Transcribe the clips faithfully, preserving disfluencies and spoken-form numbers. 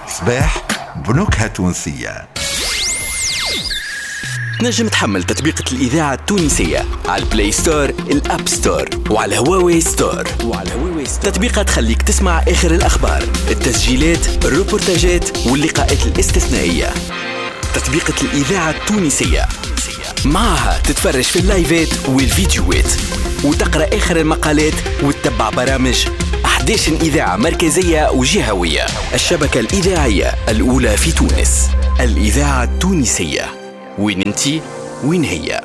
صباح بنكهة تونسية. تنجم تحمل تطبيقة الإذاعة التونسية على ال Play Store، ال App Store وعلى هواوي Store. وعلى هواوي Store تطبيقة تخليك تسمع آخر الأخبار، التسجيلات، الروبورتاجات واللقاءات الاستثنائية. تطبيقة الإذاعة التونسية معها تتفرج في اللايفات والفيديوهات وتقرأ آخر المقالات وتتبع برامج أحد عشر إذاعة مركزية وجهوية. الشبكة الإذاعية الأولى في تونس، الإذاعة التونسية. وين انتي وين هي؟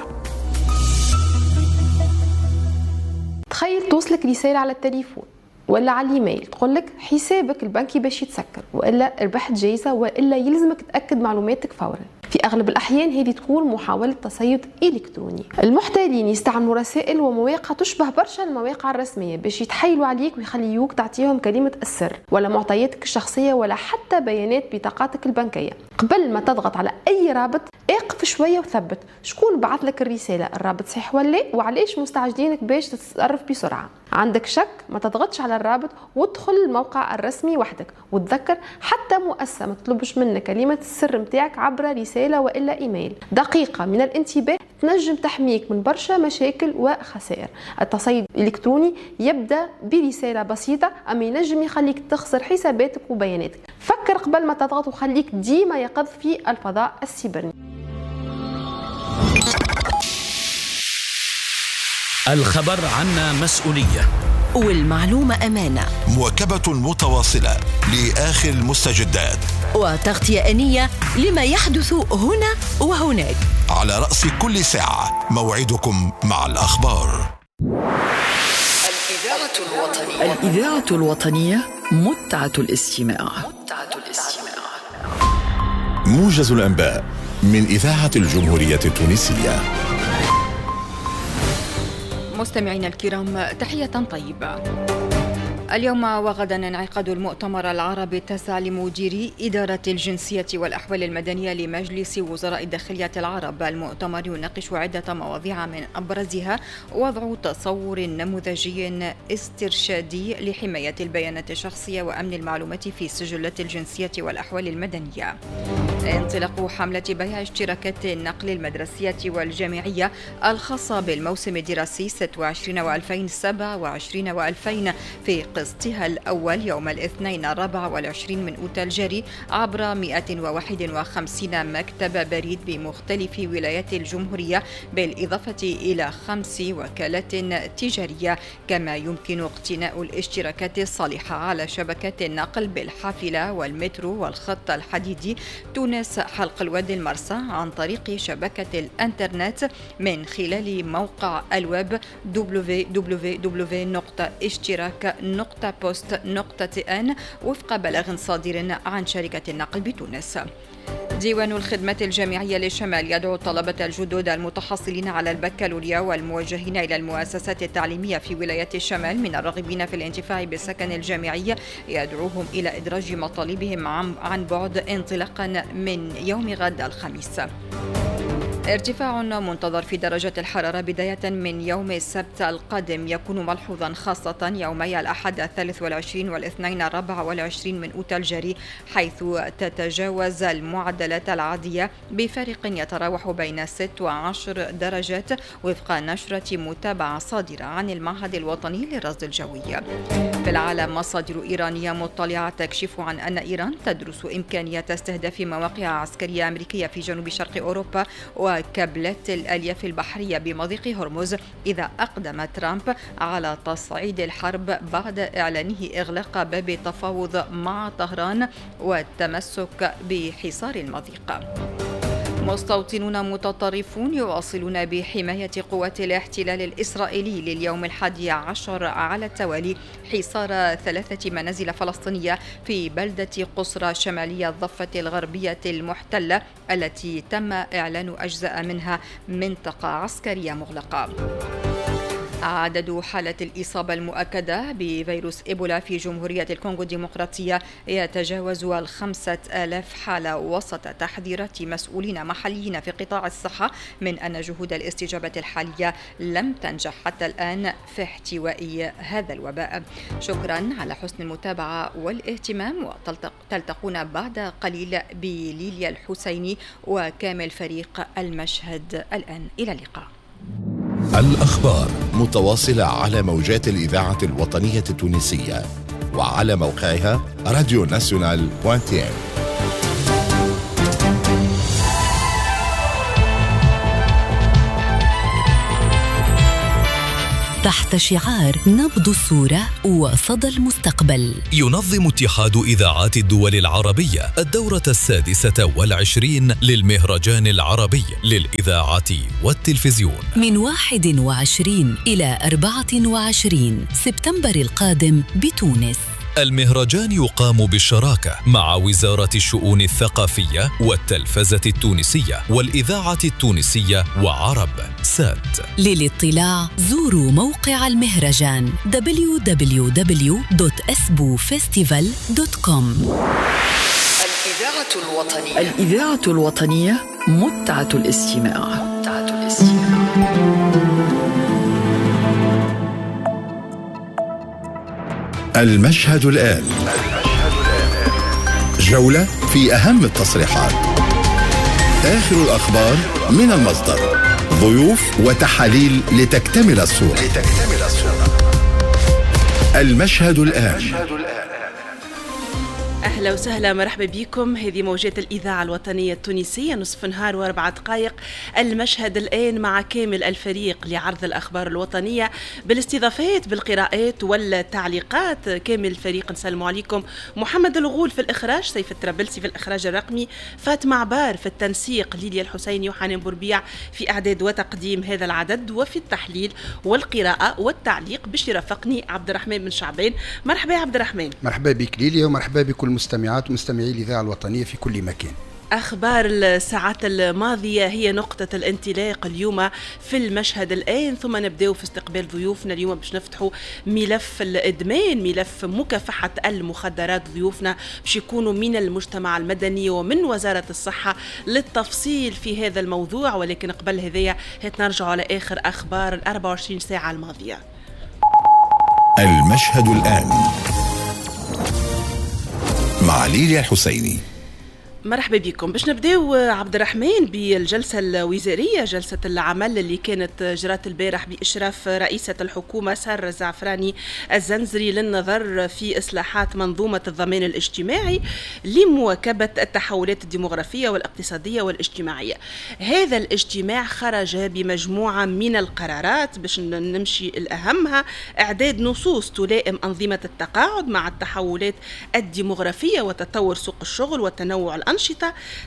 تخيل توصلك رسالة على التليفون ولا على الايميل تقول لك حسابك البنكي باش يتسكر، والا ربحت جائزة، والا يلزمك تاكد معلوماتك فورا. في اغلب الاحيان هذه تكون محاولة تصيد الكتروني. المحتالين يستعملوا رسائل ومواقع تشبه برشا المواقع الرسمية باش يتحايلوا عليك ويخليوك تعطيهم كلمة السر ولا معطياتك الشخصية ولا حتى بيانات بطاقاتك البنكية. قبل ما تضغط على اي رابط اقف شوية وثبت شكون بعث لك الرسالة، الرابط صحيح ولا لا، وعلاش مستعجلينك باش تتصرف بسرعة. عندك شك ما تضغطش على الرابط وادخل الموقع الرسمي وحدك، وتذكر حتى مؤسسة ما تطلبش منك كلمة السر متاعك عبر رسالة والا ايميل. دقيقة من الانتباه تنجم تحميك من برشا مشاكل وخسائر. التصيد الالكتروني يبدا برسالة بسيطة اما ينجم يخليك تخسر حساباتك وبياناتك. فكر قبل ما تضغط وخليك ديما يقظ في الفضاء السيبرني. الخبر عنا مسؤولية والمعلومة أمانة. مواكبة متواصلة لآخر المستجدات وتغطية آنية لما يحدث هنا وهناك. على رأس كل ساعة موعدكم مع الأخبار. الإذاعة الوطنية، الإذاعة الوطنية متعة الاستماع. متعة الاستماع. موجز الأنباء من إذاعة الجمهورية التونسية. مستمعينا الكرام، تحية طيبة. اليوم وغدا انعقاد المؤتمر العربي التاسع لمديري إدارة الجنسية والأحوال المدنية لمجلس وزراء الداخلية العرب. المؤتمر يناقش عدة مواضيع من أبرزها وضع تصور نموذجي استرشادي لحماية البيانات الشخصية وأمن المعلومات في سجلات الجنسية والأحوال المدنية. انطلاق حملة بيع اشتراكات النقل المدرسية والجامعية الخاصة بالموسم الدراسي ستة وعشرين وألفين سبعة وعشرين وألفين في قسطها الأول يوم الاثنين الرابع والعشرين من أوت الجاري عبر مئة وواحد وخمسين مكتب بريد بمختلف ولايات الجمهورية، بالإضافة إلى خمس وكالات تجارية. كما يمكن اقتناء الاشتراكات الصالحة على شبكات النقل بالحافلة والمترو والخط الحديدي تونس حلق الواد المرسى عن طريق شبكة الانترنت من خلال موقع الويب دبليو دبليو دبليو نقطة اشتراك نقطة بوست نقطة ان وفق بلاغ صادر عن شركة النقل بتونس. ديوان الخدمات الجامعية للشمال يدعو الطلبة الجدد المتحصلين على البكالوريا والموجهين إلى المؤسسات التعليمية في ولايات الشمال من الراغبين في الانتفاع بالسكن الجامعي، يدعوهم إلى إدراج مطالبهم عن بعد انطلاقا من يوم غد الخميس. ارتفاع منتظر في درجة الحرارة بداية من يوم السبت القادم يكون ملحوظا خاصة يومي الأحد الثالث والعشرين والاثنين الرابع والعشرين من أوت الجاري، حيث تتجاوز المعدلات العادية بفارق يتراوح بين ست وعشر درجات وفق نشرة متابعة صادرة عن المعهد الوطني للرصد الجوي. في العالم، مصادر إيرانية مطلعة تكشف عن أن إيران تدرس إمكانية استهداف مواقع عسكرية أمريكية في جنوب شرق أوروبا وكابلات الألياف البحرية بمضيق هرمز إذا أقدم ترامب على تصعيد الحرب بعد إعلانه إغلاق باب التفاوض مع طهران والتمسك بحصار المضيق. مستوطنون متطرفون يواصلون بحماية قوات الاحتلال الإسرائيلي لليوم الحادي عشر على التوالي حصار ثلاثة منازل فلسطينية في بلدة قصرى شمالية الضفة الغربية المحتلة التي تم إعلان أجزاء منها منطقة عسكرية مغلقة. عدد حالات الإصابة المؤكدة بفيروس إيبولا في جمهورية الكونغو الديمقراطية يتجاوز الخمسة آلاف حالة، وسط تحذيرات مسؤولين محليين في قطاع الصحة من أن جهود الاستجابة الحالية لم تنجح حتى الآن في احتواء هذا الوباء. شكرا على حسن المتابعة والاهتمام، وتلتقون بعد قليل بليليا الحسيني وكامل فريق المشهد الآن. إلى اللقاء. الأخبار متواصلة على موجات الإذاعة الوطنية التونسية وعلى موقعها راديو ناسيونال دوت تي إن. تحت شعار نبض الصورة وصدى المستقبل، ينظم اتحاد إذاعات الدول العربية الدورة السادسة والعشرين للمهرجان العربي للإذاعة والتلفزيون من واحد وعشرين إلى أربعة وعشرين سبتمبر القادم بتونس. المهرجان يقام بالشراكة مع وزارة الشؤون الثقافية والتلفزة التونسية والإذاعة التونسية وعرب سات. للاطلاع زوروا موقع المهرجان دبليو دبليو دبليو دوت أسبو فيستيفال دوت كوم. الإذاعة الوطنية، الإذاعة الوطنية متعة الاستماع. متعة الاستماع. المشهد الآن، جولة في أهم التصريحات، آخر الأخبار من المصدر، ضيوف وتحاليل لتكتمل الصورة. المشهد الآن. أهلا وسهلا، مرحبا بكم. هذه موجات الإذاعة الوطنية التونسية، نصف نهار وأربع دقائق. المشهد الآن مع كامل الفريق لعرض الأخبار الوطنية بالاستضافات بالقراءات والتعليقات. كامل الفريق نسلم عليكم. محمد الغول في الإخراج، سيف الترابلسي في الإخراج الرقمي، فاطمة عبار في التنسيق، ليليا الحسيني وحنان بوربيع في إعداد وتقديم هذا العدد، وفي التحليل والقراءة والتعليق باش يرافقني عبد الرحمن بن شعبان. مرحبا يا عبد الرحمن. مرحبا بك ليليا، ومرحبا بكل مستمعات ومستمعي الإذاعة الوطنية في كل مكان. أخبار الساعات الماضية هي نقطة الانطلاق اليوم في المشهد الآن، ثم نبدأ في استقبال ضيوفنا اليوم باش نفتحوا ملف الإدمان، ملف مكافحة المخدرات. ضيوفنا باش يكونوا من المجتمع المدني ومن وزارة الصحة للتفصيل في هذا الموضوع، ولكن قبل هذايا نرجع على آخر أخبار ال أربعة وعشرين ساعة الماضية. المشهد الآن مع ليليا الحسيني. مرحبا بكم. باش نبداو عبد الرحمن بالجلسة الوزارية، جلسة العمل اللي كانت جرات البارح بإشراف رئيسة الحكومة سارة الزعفراني الزنزري للنظر في إصلاحات منظومة الضمان الاجتماعي لمواكبة التحولات الديمغرافية والاقتصادية والاجتماعية. هذا الاجتماع خرج بمجموعة من القرارات باش نمشي الأهمها: إعداد نصوص تلائم أنظمة التقاعد مع التحولات الديمغرافية وتطور سوق الشغل وتنوع الأنشطة،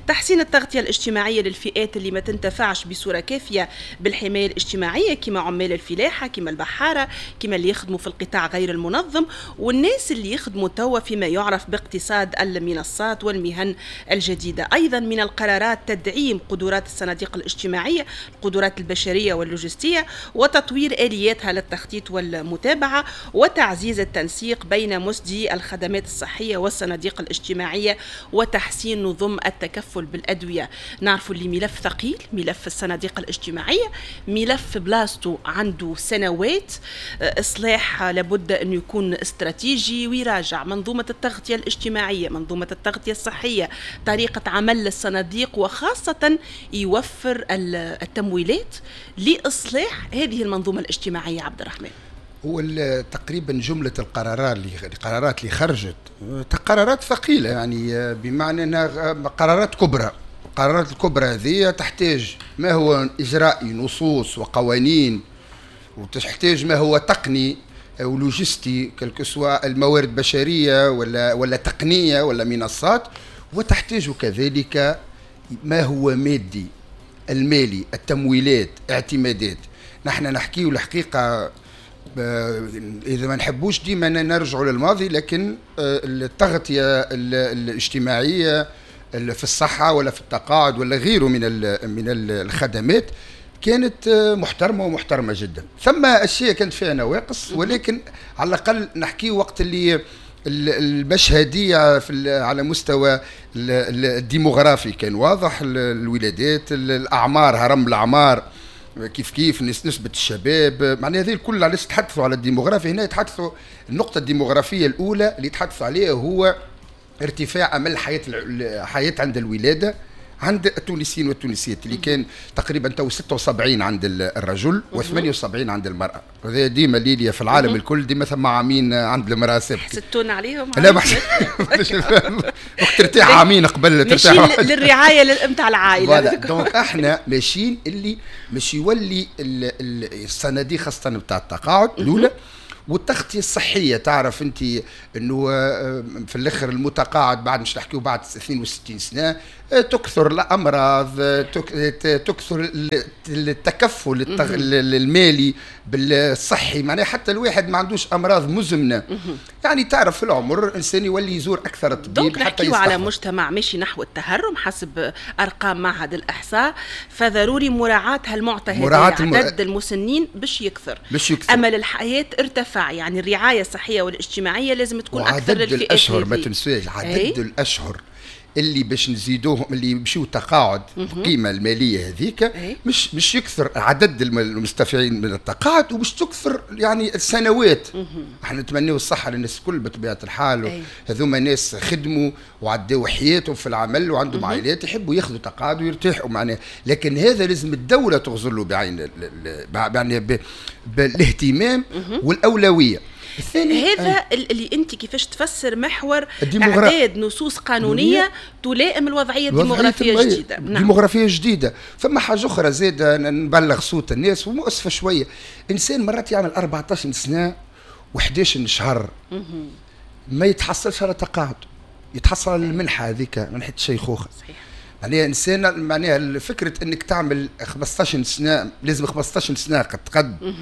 تحسين التغطية الاجتماعية للفئات اللي ما تنتفعش بصورة كافية بالحماية الاجتماعية كما عمال الفلاحة، كما البحارة، كما اللي يخدموا في القطاع غير المنظم، والناس اللي يخدموا توا فيما يعرف باقتصاد المنصات والمهن الجديدة. أيضا من القرارات تدعيم قدرات الصناديق الاجتماعية، القدرات البشرية واللوجستية، وتطوير آلياتها للتخطيط والمتابعة، وتعزيز التنسيق بين مسدي الخدمات الصحية والصناديق الاجتماعية، وتحسين نظم التكفل بالأدوية. نعرفوا اللي ملف ثقيل، ملف الصناديق الاجتماعية، ملف بلاستو عنده سنوات. إصلاح لابد أن يكون استراتيجي ويراجع منظومة التغطية الاجتماعية، منظومة التغطية الصحية، طريقة عمل الصناديق، وخاصة يوفر التمويلات لإصلاح هذه المنظومة الاجتماعية. عبد الرحمن، هو تقريبا جملة القرارات اللي القرارات اللي خرجت قرارات ثقيلة، يعني بمعنى أنها قرارات كبرى. القرارات الكبرى هذه تحتاج ما هو إجرائي، نصوص وقوانين، وتحتاج ما هو تقني ولوجستي، quel que soit الموارد البشرية ولا ولا تقنية ولا منصات، وتحتاج كذلك ما هو مادي، المالي، التمويلات، اعتمادات. نحن نحكي الحقيقة إذا ما نحبوش ديما نرجعوا للماضي، لكن التغطية الاجتماعية في الصحة ولا في التقاعد ولا غيره من من الخدمات كانت محترمه ومحترمه جدا. ثم اشياء كانت فيها نواقص، ولكن على الاقل نحكي وقت اللي المشهديه في على مستوى الديموغرافي كان واضح، الولادات، الاعمار، هرم الاعمار كيف كيف، نسبه الشباب، معناها هذه الكل علاش تحدثوا على الديموغرافي. هنا يتحدثوا النقطة الديموغرافيه الاولى اللي يتحدثوا عليها هو ارتفاع امل الحياة الحياة عند الولادة عند التونسيين والتونسيات، اللي كان تقريبا تو ستة وسبعين عند الرجل وثمانية وسبعين عند المرأة. وهذا ديما ليليا في العالم الكل ديما ثم عامين عند المرأة سابقة. حسدتونا عليهم؟ لا ما وقت ترتاح عامين قبل ترتاح للرعاية نتاع العائلة. donc احنا ماشيين اللي مش يولي الصناديق خاصة نتاع التقاعد الأولى والتغطية الصحية. تعرف أنت أنه في الآخر المتقاعد بعد مش نحكيو بعد اثنين وستين سنة تكثر الأمراض، تكثر التكفل المالي بالصحي، معناها حتى الواحد ما عندوش أمراض مزمنة. يعني تعرف في العمر الإنسان يولي يزور أكثر الطبيب حتى يستحفظ. على مجتمع ماشي نحو التهرم حسب أرقام معهد الإحصاء، فضروري مراعاة هالمعطى هذا، عدد المسنين باش يكثر، باش يكثر. أمل الحياة ارتفع، يعني الرعاية الصحية والاجتماعية لازم تكون أكثر للفئات. وعدد الأشهر ما تنساش، عدد الأشهر اللي باش نزيدوهم اللي يمشيو تقاعد القيمة المالية هذيك مش مش يكثر عدد المستفيدين من التقاعد، ومش تكثر يعني السنوات. احنا نتمناو الصحة للناس الكل بطبيعة الحال، هذوما ناس خدموا وعداو حياتهم في العمل وعندهم عائلات يحبوا ياخذوا تقاعد ويرتاحوا معناها، لكن هذا لازم الدولة تغزر له بعين يعني بالاهتمام والاولويه. الثاني هذا آه. اللي انت كيفاش تفسر محور اعداد نصوص قانونية تلائم الوضعية الديموغرافيه الجديدة. نعم. ديموغرافيه جديدة. ثم حاجة اخرى زاد نبلغ صوت الناس ومؤسفه شوية، انسان مرات يعمل أربعطاش سنة وحداش شهر ما يتحصلش على تقاعد، يتحصل على المنحة هذيك منحه الشيخوخة. صحيح. معناها انسان معناها فكرة انك تعمل خمسطاش سنة لازم خمسطاش سنة قد قد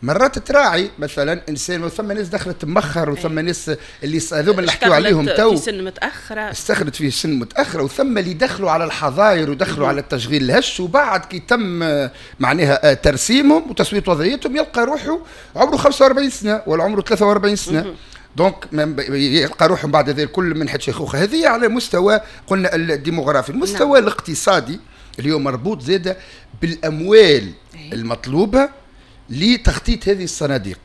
مرات تراعي مثلا انسان، وثم ناس دخلت مخر، وثم ناس اللي هذوما اللي نحكيو عليهم تو في سن متاخرة، استخدت في سن متاخرة، وثم اللي دخلوا على الحظاير ودخلوا على التشغيل الهش، وبعد كي تم معناها ترسيمهم وتسويه وضعيتهم يلقى روحه عمره خمسة وأربعين سنة ولا عمره ثلاثة وأربعين سنة. donc يلقى روحهم بعد ذلك كل منحة شيخوخة. هذه على مستوى قلنا الديموغرافي. المستوى نعم. الاقتصادي اللي هو مربوط زاده بالاموال المطلوبة لتخطيط هذه الصناديق.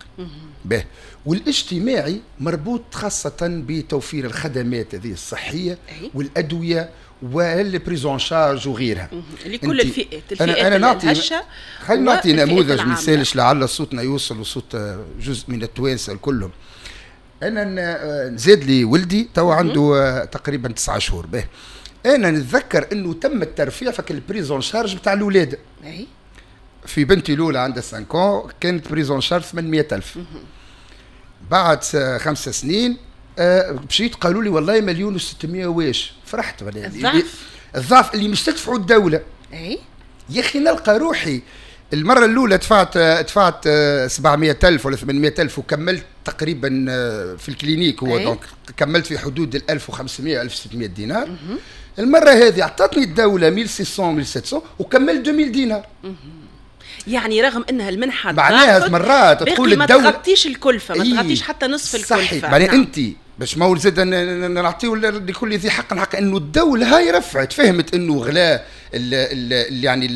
به. والاجتماعي مربوط خاصة بتوفير الخدمات هذه الصحية والادوية وال prise en charge وغيرها لكل الفئات. الفئات أنا أنا نعطي خلينا نعطي نموذج مثالش لعل صوتنا يوصل وصوت جزء من التوانسة كلهم. انا نزيد لي ولدي تو عنده تقريبا تسعة شهور. به انا نتذكر انه تم الترفيع فك ال prise en charge بتاع الاولاد. في بنتي الاولى عندها خمسة كانت prise en charge ثمانمية ألف. بعد خمس سنين مشيت قالوا لي والله مليون وستمية واش. فرحت الضعف الضعف اللي مش تدفعوا الدولة. اي يا اخي نلقى روحي المرة الأولى دفعت دفعت سبعمية ألف ولا ثمانمية ألف وكملت تقريبا في ال clinique هو أي. donc كملت في حدود ال ألف وخمسمية ألف وستمية دينار. مم. المرة هذه أعطتني الدولة ألف وستمية ألف وسبعمية وكملت ألفين دينار. مم. يعني رغم انها المنحة معناها مرات تقول الدولة ما تغطيش الكلفة، ما تغطيش حتى نصف الكلفة. صحيح. معناها نعم. انت باش ما زاد نعطيو لكل ذي حق حق، انه الدولة هاي رفعت فهمت انه غلاء يعني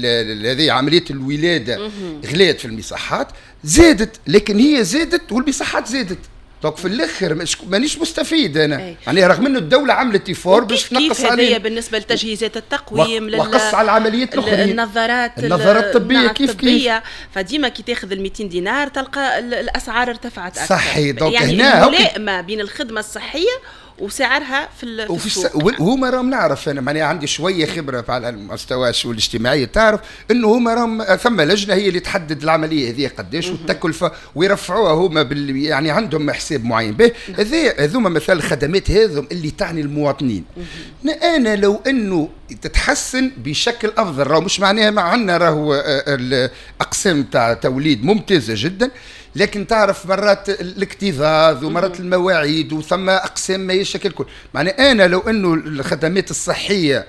هذه عملية الولادة غلات في المصحات زادت، لكن هي زادت والمصحات زادت. donc في الاخر مانيش مستفيد انا. يعني رغم انه الدولة عملت effort باش تنقص عليه بالنسبة لتجهيزات التقويم وقص على العمليات الاخرى النظارات النظارات الطبية كيف كيف. فديما كي تاخذ ال مئتين دينار تلقى الاسعار ارتفعت اكثر. صحيح. donc يعني هنا الملائمة بين الخدمة الصحية وسعرها في في السوق. وهما راهم نعرف انا معناها عندي شوية خبره على المستوى الشؤون الاجتماعية، تعرف انه هما راهم ثم لجنة هي اللي تحدد العملية هذه قداش والتكلفه ويرفعوها هما بال يعني عندهم حساب معين به. هذا هذوما مثلا الخدمات هذم اللي تعني المواطنين. انا لو انه تتحسن بشكل افضل، راهو مش معناها ما عندنا راهو الاقسام تاع توليد ممتازة جدا، لكن تعرف مرات الاكتظاظ ومرات المواعيد وثم اقسام ما يشكل الكل. معناها انا لو انه الخدمات الصحية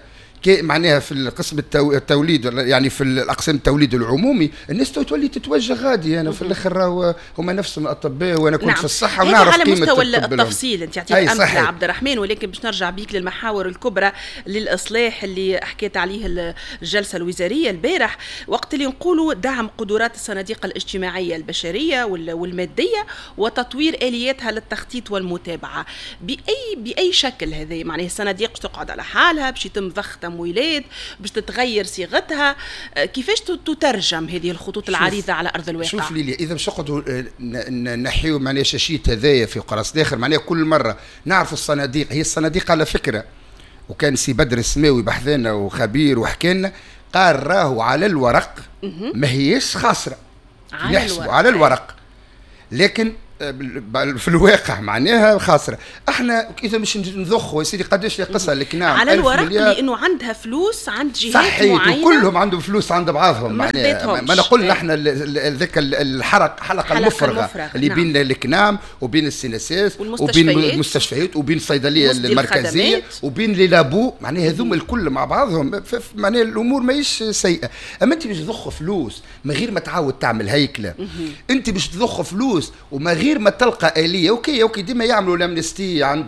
معناها في القسم التوليد، يعني في الاقسام التوليد العمومي الناس تولي تتوجه غادي. انا في الاخر راهو هما نفسهم الاطباء، وانا كنت نعم. في الصحة ونعرف على قيمة مستوى التفصيل انت عطيت امثلة عبد الرحمن، ولكن باش نرجع بيك للمحاور الكبرى للاصلاح اللي حكيت عليه الجلسة الوزارية البارح، وقت اللي نقولوا دعم قدرات الصناديق الاجتماعية البشرية والمادية وتطوير الياتها للتخطيط والمتابعة باي باي شكل. هذه معناها الصناديق تقعد على حالها باش يتم ضخ تمويلات، باش تتغير صيغتها، كيفاش تترجم هذه الخطوط العريضة على ارض الواقع؟ شوف ليليا، اذا باش نقعدوا نحيو معناها شاشيت هذايا في قرص داخل، معناها كل مرة نعرفوا الصناديق، هي الصناديق على فكرة، وكان سي بدر السماوي بحثنا وخبير وحكى لنا، قال راهو على الورق ما هيش خاسرة، نحسبوا على الورق، لكن في الواقع معناها خاسرة. احنا اذا مش نضخوا يا سيدي قداش قصة الكنام على الورق، لانه عندها فلوس عند جهات صحيح معينة، وكلهم عندهم فلوس عند بعضهم، معناها ما نقول نحن ذاك الحرق حلقة المفرغه اللي نعم. بين الكنام وبين ال CNSS وبين المستشفيات وبين الصيدلية المركزية وبين les labos، معناها هذوما الكل مع بعضهم، معناها الامور ماهيش سيئه. اما انت باش تضخ فلوس من غير ما تعاود تعمل هيكله، انت باش تضخ فلوس وما غير ما تلقى آلية. OK OK ديما يعملوا l'amnistie عند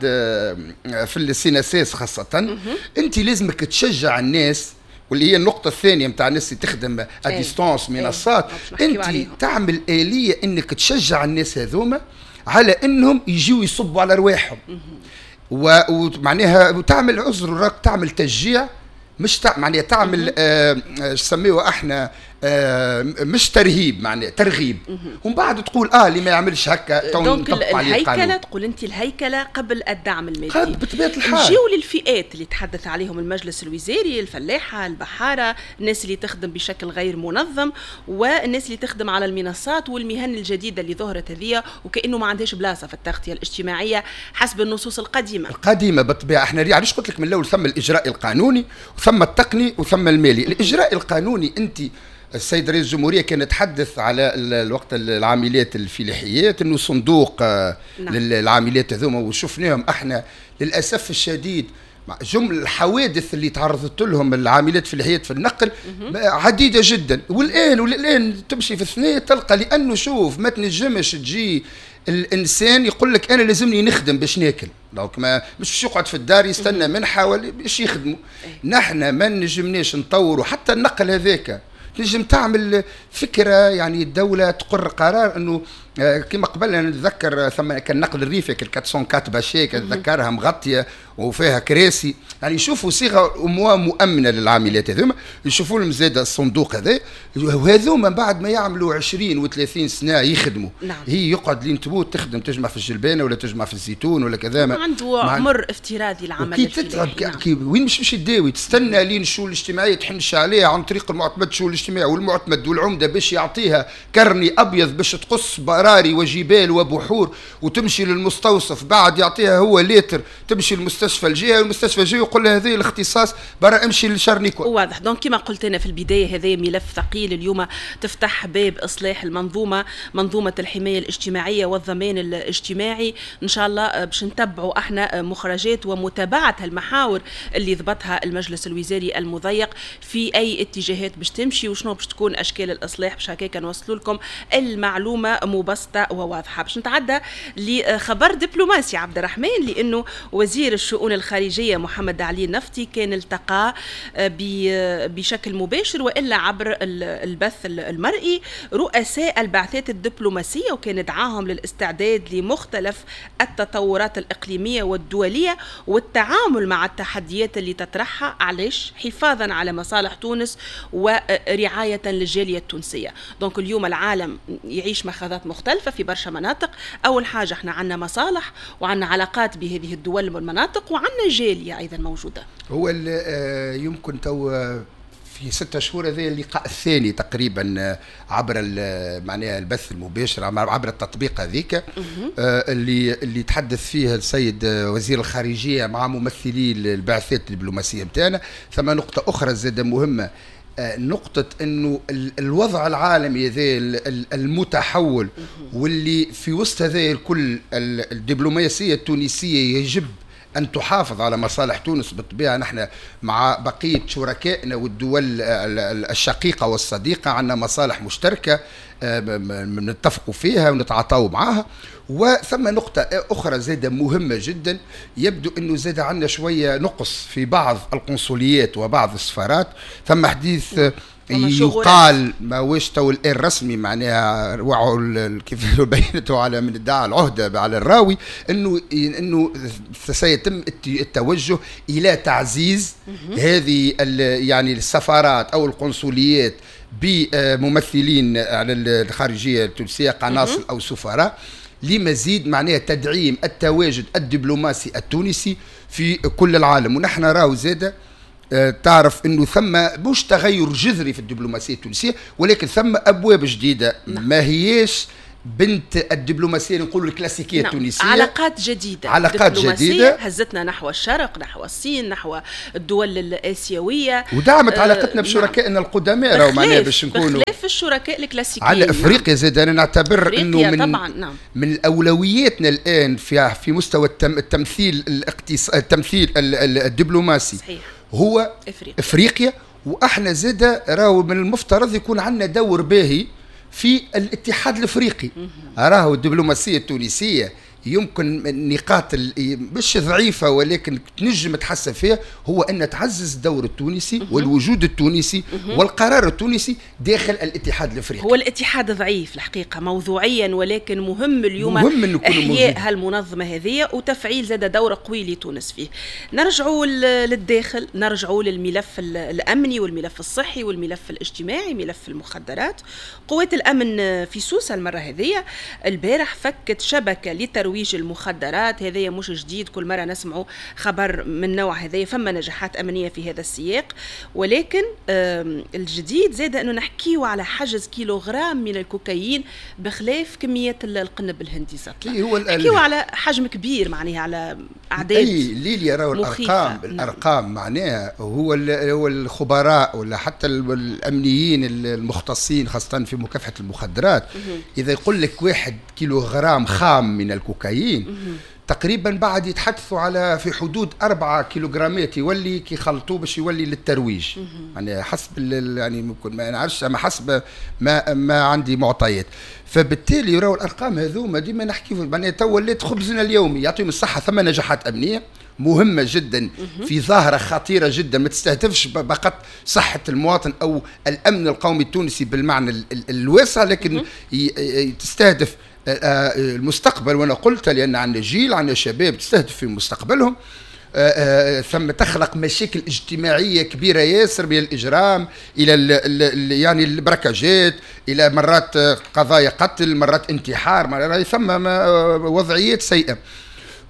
في ال CNSS خاصة. انت لازمك تشجع الناس، واللي هي النقطة الثانية نتاع الناس اللي تخدم à distance منصات، انت تعمل آلية انك تشجع الناس هذوما على انهم يجيو يصبوا على رواحهم، ومعناها وتعمل عذر راك تعمل تشجيع، مش تع... معناها تعمل آه سميوه احنا آه مش ترهيب، معناها ترغيب، ومن بعد تقول اه اللي ما يعملش هكا تو نطبق عليه القانون. الهيكله تقول انت الهيكله قبل الدعم المادي بطبيعة الحال. نجيو للفئات اللي تحدث عليهم المجلس الوزاري، الفلاحة، البحارة، الناس اللي تخدم بشكل غير منظم، والناس اللي تخدم على المنصات، والمهن الجديدة اللي ظهرت هذه وكانه ما عندهاش بلاصة في التغطية الاجتماعية حسب النصوص القديمة. القديمة بالطبيعة. احنا علاش قلت لك من الاول ثم الاجراء القانوني وثم التقني وثم المالي. الاجراء القانوني انت السيد رئيس الجمهورية كان يتحدث على الوقت العاملات الفلاحيات انه صندوق نعم. للعاملات هذوما، وشفناهم احنا للاسف الشديد جمل الحوادث اللي تعرضت لهم العاملات الفلاحيات في النقل عديدة جدا، والان والان تمشي في الثنية تلقى، لانه شوف ما تنجمش تجي الانسان يقول لك انا لازمني نخدم باش ناكل، donc ما مش باش يقعد في الدار يستنى منحه ولا باش يخدموا. نحن ما نجمناش نطوروا حتى النقل هذاك، تنجم تعمل فكرة، يعني الدولة تقر قرار انه كما قبل انا نتذكر ثم كان نقل الريفي كان أربعمية وأربعة bâchée كنتذكرها مغطيه وفيها كراسي، يعني يشوفوا صيغة مؤمنة للعاملات هذوما، يشوفوا لهم زاد الصندوق هذا، وهذوما بعد ما يعملوا عشرين وثلاثين سنة يخدموا نعم. هي يقعد لين تموت تخدم، تجمع في الجلبانه ولا تجمع في الزيتون ولا كذا، عنده عمر افتراضي العمل كي تتعب نعم. كي وين مش مش تداوي، تستنى لين الشؤون الاجتماعية تحنش عليها عن طريق المعتمد، الشؤون الاجتماعي والمعتمد والعمده باش يعطيها كرني ابيض باش تقص براري وجبال وبحور وتمشي للمستوصف، بعد يعطيها هو lettre تمشي للمستشفى الجهة، والمستشفى الجهة يقول لها هذا الاختصاص برا امشي لشارنيكو. واضح. donc كما قلت انا في البداية هذا ملف ثقيل، اليوم تفتح باب اصلاح المنظومة، منظومة الحماية الاجتماعية والضمان الاجتماعي. ان شاء الله باش نتبعوا احنا مخرجات ومتابعة المحاور اللي ضبطها المجلس الوزاري المضيق في اي اتجاهات باش تمشي وشنو باش تكون اشكال الاصلاح، باش هكاك نوصلوا لكم المعلومة مبسطة وواضحة. باش نتعدى لخبر دبلوماسي عبد الرحمن، لانه وزير الشؤون الخارجية محمد علي النفطي كان التقى بشكل مباشر والا عبر البث المرئي رؤساء البعثات الدبلوماسية، وكان دعاهم للاستعداد لمختلف التطورات الاقليمية والدولية والتعامل مع التحديات اللي تطرحها، علاش؟ حفاظا على مصالح تونس ورعاية للجاليه التونسية. donc اليوم العالم يعيش مخاضات مختلفة في برشا مناطق. اول حاجة احنا عندنا مصالح وعندنا علاقات بهذه الدول والمناطق وعندنا جالية ايضا موجودة. هو يمكن تو في ستة شهور هذا اللقاء الثاني تقريبا عبر معناها البث المباشر عبر التطبيق هذيك اللي اللي تحدث فيه السيد وزير الخارجية مع ممثلي البعثات الدبلوماسية نتاعنا. ثم نقطة اخرى زاده مهمة، نقطة أنه الوضع العالمي هذا المتحول واللي في وسط هذا الكل الدبلوماسية التونسية يجب أن تحافظ على مصالح تونس. بالطبيعة نحن مع بقية شركائنا والدول الشقيقة والصديقة عندنا مصالح مشتركة نتفقوا فيها ونتعاطوا معها. وثم نقطة أخرى زادة مهمة جدا، يبدو أنه زاد عندنا شوية نقص في بعض القنصليات وبعض السفارات. ثم حديث يقال ما واش تو الان رسمي، معناها وعوا كيف بينته على من ادعى العهده على الراوي، انه انه سيتم التوجه الى تعزيز هذه يعني السفارات او القنصليات بممثلين على الخارجية التونسية، قناصل او سفراء، لمزيد معناها تدعيم التواجد الدبلوماسي التونسي في كل العالم. ونحن راهو زاده تعرف انه ثم مش تغير جذري في الدبلوماسية التونسية، ولكن ثم ابواب جديدة. نعم. ما هيش بنت الدبلوماسية نقولوا الكلاسيكية. نعم. التونسية علاقات جديدة، علاقات جديدة هزتنا نحو الشرق، نحو الصين، نحو الدول الاسيوية، ودعمت آه علاقتنا بشركائنا. نعم. القدماء راهو معناها باش نكونوا بخلاف الشركاء الكلاسيكيين. على افريقيا زاد انا نعتبر انه من طبعا. نعم. من اولوياتنا الان في في مستوى التم التمثيل الاقتصادي، التمثيل الدبلوماسي. صحيح. هو افريقيا, إفريقيا. واحنا زاد راهو من المفترض يكون عندنا دور باهي في الاتحاد الافريقي. راهو الدبلوماسية التونسية يمكن النقاط مش ضعيفة ولكن تنجم تحسن فيها، هو ان تعزز الدور التونسي والوجود التونسي والقرار التونسي داخل الاتحاد الافريقي. هو الاتحاد ضعيف الحقيقة موضوعيا، ولكن مهم اليوم مهم احياء هالمنظمه هذه وتفعيل زاد دور قوي لتونس فيه. نرجعوا للداخل، نرجعوا للملف الامني والملف الصحي والملف الاجتماعي، ملف المخدرات. قوات الامن في سوسة المرة هذه البارح فكت شبكة لترويج المخدرات. هذايا مش جديد، كل مرة نسمعوا خبر من نوع هذايا، فما نجاحات أمنية في هذا السياق، ولكن الجديد زاد أنه نحكيو على حجز كيلوغرام من الكوكايين بخلاف كمية القنب الهندي. نحكيو على حجم كبير، معناها على أعداد. أي ليليا راهو الأرقام، الأرقام معناها هو هو الخبراء ولا حتى الأمنيين المختصين خاصة في مكافحة المخدرات، إذا يقول لك واحد كيلوغرام خام من الكوكايين تقريبا بعد يتحدثوا على في حدود أربعة كيلوغرامات يولي كي خلطوه باش يولي للترويج. يعني حسب يعني ممكن ما نعرفش، اما حسب ما ما عندي معطيات. فبالتالي راهو الارقام هذوما ديما نحكي معناها تو ولات خبزنا اليومي. يعطيهم الصحة، ثم نجاحات امنية مهمة جدا في ظاهرة خطيرة جدا ما تستهدفش فقط صحة المواطن أو الأمن القومي التونسي بالمعنى الواسع، لكن تستهدف المستقبل. وأنا قلت لأن عندنا جيل، عندنا شباب تستهدف في مستقبلهم. ثم تخلق مشاكل اجتماعية كبيرة ياسر من الإجرام إلى ال ال يعني البركاجات، إلى مرات قضايا قتل، مرات انتحار، مرات ثم وضعيات سيئة.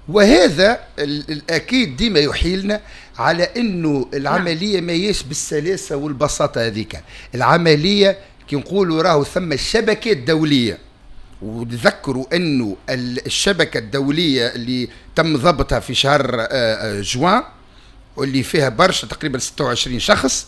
وهذا الأكيد ديما يحيلنا على أنه العملية ما هيش بالسلاسة والبساطة هذيك. العملية كي نقولوا راهو ثم شبكات دولية، وتذكروا أنه الشبكة الدولية اللي تم ضبطها في شهر جوان واللي فيها برشا تقريبا ستة وعشرين شخص،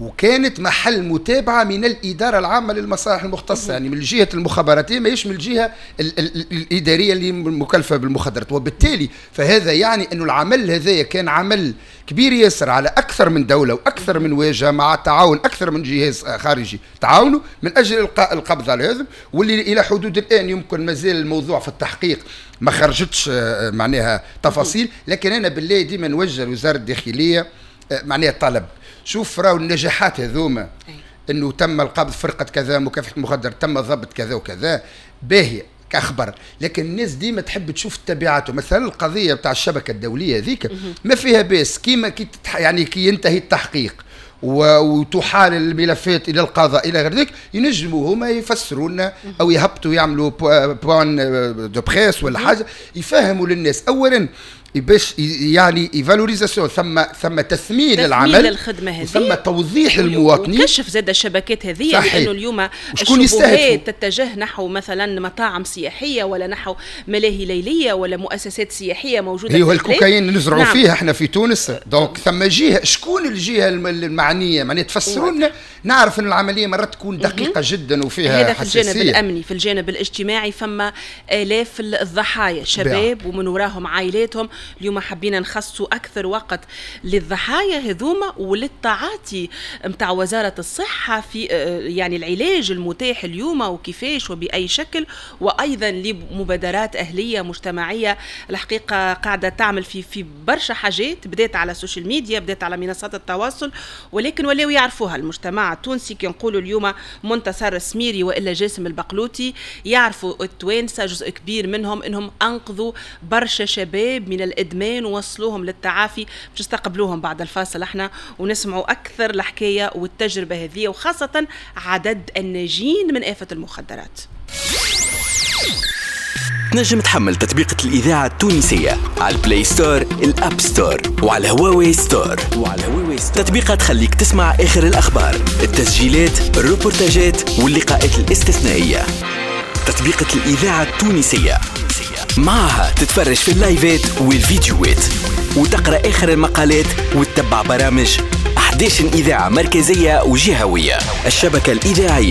وكانت محل متابعة من الإدارة العامة للمصالح المختصة، يعني من الجهة المخابراتية، ماهيش من الجهة ال ال الإدارية اللي مكلفة بالمخدرات. وبالتالي فهذا يعني أنه العمل هذا كان عمل كبير ياسر على أكثر من دولة وأكثر من واجهة، مع تعاون أكثر من جهاز خارجي تعاونوا من أجل إلقاء القبض على هذا، واللي إلى حدود الآن يمكن مازال الموضوع في التحقيق ما خرجتش معناها تفاصيل. لكن أنا بالله ديما نوجه لوزارة الداخلية معناها طلب، شوف راهو النجاحات هذوما انه تم القبض فرقه كذا مكافحة المخدر، تم ضبط كذا وكذا، باهيه كاخبر، لكن الناس ديما تحب تشوف تبعاته. مثلا القضية بتاع الشبكة الدولية هذيك ما فيها باس كيما كي يعني كي ينتهي التحقيق وتحال الملفات الى القضاء الى غير ذلك، ينجموا هما يفسروا لنا او يهبطوا يعملوا point de presse ولا حاجة يفهموا للناس اولا باش يعني valorisation، ثم ثم تثمين العمل، الخدمة هذه، ثم توضيح للمواطنين، وكشف زاد الشبكات هذه، لانه اليوم الشبهات تتجه نحو مثلا مطاعم سياحية ولا نحو ملاهي ليليه ولا مؤسسات سياحية موجودة. هي الكوكايين نزرعوا نعم. فيها احنا في تونس، donc ثم جهة، شكون الجهة المعنية؟ معناها تفسروا لنا نعرف ان العملية مرات تكون دقيقة جدا وفيها هذا في الجانب الامني. في الجانب الاجتماعي فما الاف الضحايا شباب ومن وراهم عائلاتهم. اليوم حبينا نخصصوا اكثر وقت للضحايا هذوما وللتعاطي نتاع وزارة الصحة في يعني العلاج المتاح اليوم وكيفاش وباي شكل، وايضا لمبادرات اهليه مجتمعية الحقيقة قاعدة تعمل في في برشا حاجات، بدات على السوشيال ميديا، بدات على منصات التواصل، ولكن ولاو يعرفوها المجتمع التونسي. كي نقولوا اليوم منتصر السميري والا جاسم البقلوتي يعرفوا التوانسة جزء كبير منهم انهم انقذوا برشا شباب من الادمان ووصلوهم للتعافي. باش نستقبلوهم بعد الفاصل احنا ونسمعوا اكثر الحكاية والتجربة هذه، وخاصة عدد الناجين من آفة المخدرات. تنجم تحمل تطبيقة الإذاعة التونسية على ال Play Store، ال App Store، وعلى هواوي Store. وعلى هواوي Store تطبيقة تخليك تسمع آخر الأخبار، التسجيلات، الروبورتاجات واللقاءات الاستثنائية. تطبيقة الإذاعة التونسية معها تتفرج في اللايفات والفيديوهات وتقرأ آخر المقالات وتتبع برامج أحد عشر إذاعة مركزية وجهوية. الشبكة الإذاعية